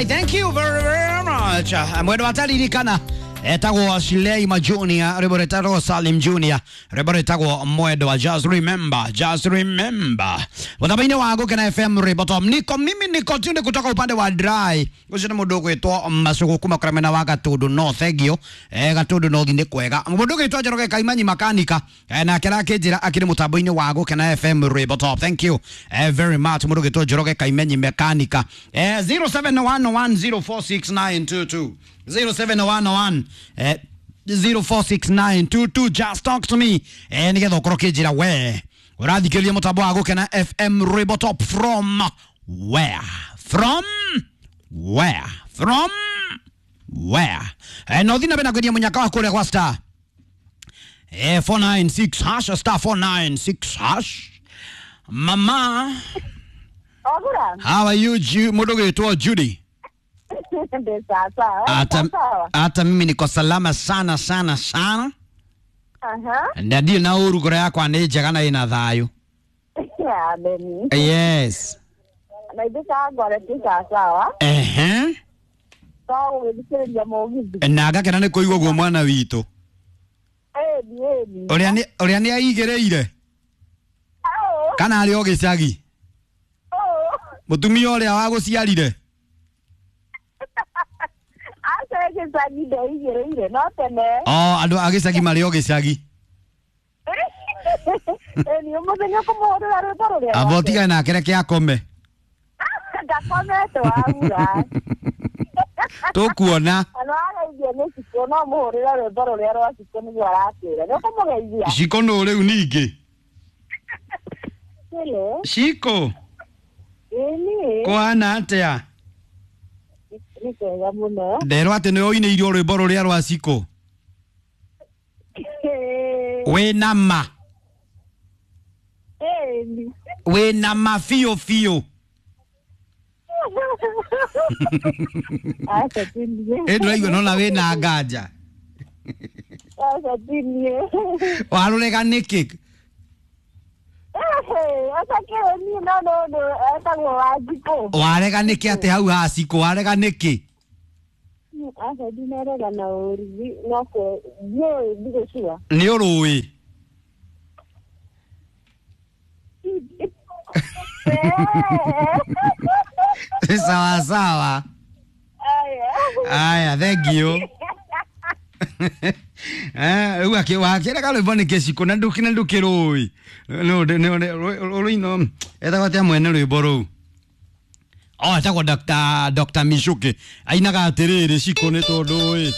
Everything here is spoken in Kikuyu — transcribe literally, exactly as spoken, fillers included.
I thank you very, very much. Mwendo ataririkana etagwo Shileima Junior, rwimbo rwĩtagwo Salim Junior, rwimbo rwĩtagwo Mwendo wa Just Remember, Just Remember. Mũtambo-inĩ wa Gũkena F M rwimbo tom niko mimi niko tunde kutoka upande wa dry ucio nĩ mũndũ ũgwĩtwo Macugu kuma kũrĩa mwena wa Gatundu North. Thank you. Eh, Gatundu North nĩ kwega. Mũndũ ũgwĩtwo Njoroge Kaimanyi makanika eh, nake arakĩnjĩra akĩrĩ mũtambo-inĩ wa Gũkena F M rwimbo top. Thank you eh, very much mũndũ ũgwĩtwo Njoroge Kaimanyi mekanika. Eh, zero seven one one zero four six nine two two zero seven one one eh, zero four six nine two two. Just talk to me eh, nigetha ukorwo kinjira we urathikiriria mutambo wa Gukena F M rwimbo top from where, from where, from where. Eh, no thina bena kwendia munyaka wa kuria kwa star eh, four nine six hash, star four nine six hash. Mama, Ogura. how are you? Ju mundu gwitwo Judy. Ndi sawa. Ata, Sawa. ata mimi niko salama sana sana sana. Aha. Na ndirĩ na ũru, ngoro yakwa nĩ njega na ĩna thayũ. Amen. Yes. Na ithuĩ kangore ti sawa. Ehe. No gũgĩthikĩrĩria mũgithi. Na ngakena nĩ kũigua guo mwana witũ. Ĩni ĩni. Ũrĩa nĩ ũrĩa nĩ aigĩrĩire Au. kana arĩ o gĩcagi. Au. Mũtumia ũrĩa wagũciarire. Aca gĩcagi ndeigĩrĩire no tene. O andũ a gĩcagi marĩ o gĩcagi. Ĩni ũmũthĩ nĩ ũkũmũhũrĩra rwĩmbo rũrĩa. Amba ũtigane nake reke akome. Ndakomete wagura. Tũkuona. Ona wageithio nĩ Cikũ no mũhũrĩre rwĩmbo rũrĩa rwa Cikũ nĩguo aratwĩra. Nĩ ũkũmũgeithia? Cikũ nũ rĩu ningĩ? Hello. Cikũ. Ĩni. Kũhana atĩa? Nĩ kwega mũno. Nderwo atĩ nĩ ũinĩirwo rwĩmbo rũrĩa rwa Cikũ. Wĩna ma. Ĩni. Wĩna ma biũ biũ. Aca ti niĩ. Ĩ ndĩraigua nona wĩna nganja. Aca ti niĩ. Warũrega nĩkĩ? Aca kĩrĩ niĩ no no no etagwo Wanjikũ. Warega nĩkĩ atĩ hau ha Cikũ warega nĩkĩ? Aca ndinarega na ũru no kwe ndiũĩ ndigũcua. Nĩ ũrũĩ. Sawa sawa. Aya. Aya, thank you. Eh, rĩu akĩ wakĩrega rwĩmbo nĩ kĩcikũ na ndũkĩ na ndũkĩrũĩ. No rũino etagwo atĩa mwene rwĩmbo rũu? Oh, etagwo Doctor Doctor Michuki. Ainaga atĩrĩrĩ Cikũ nĩ tondũ ĩ.